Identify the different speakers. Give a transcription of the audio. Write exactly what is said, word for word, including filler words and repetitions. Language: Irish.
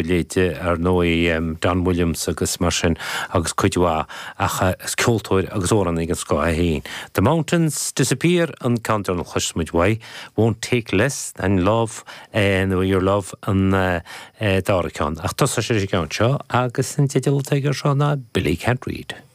Speaker 1: Leithéide ar ndóigh Don Williams agus mar sin agus cuid mhaith ach is ceoltóir agus amhránaí den scoth é féin. The Mountains Disappear an ceann deireanach a chloisfimid uaidh, Won't Take Less Than Love nó Your Love an dara ceann. Ach tosóidh sé leis an gceann seo agus an teideal atá aige seo ná Billy Can't Read.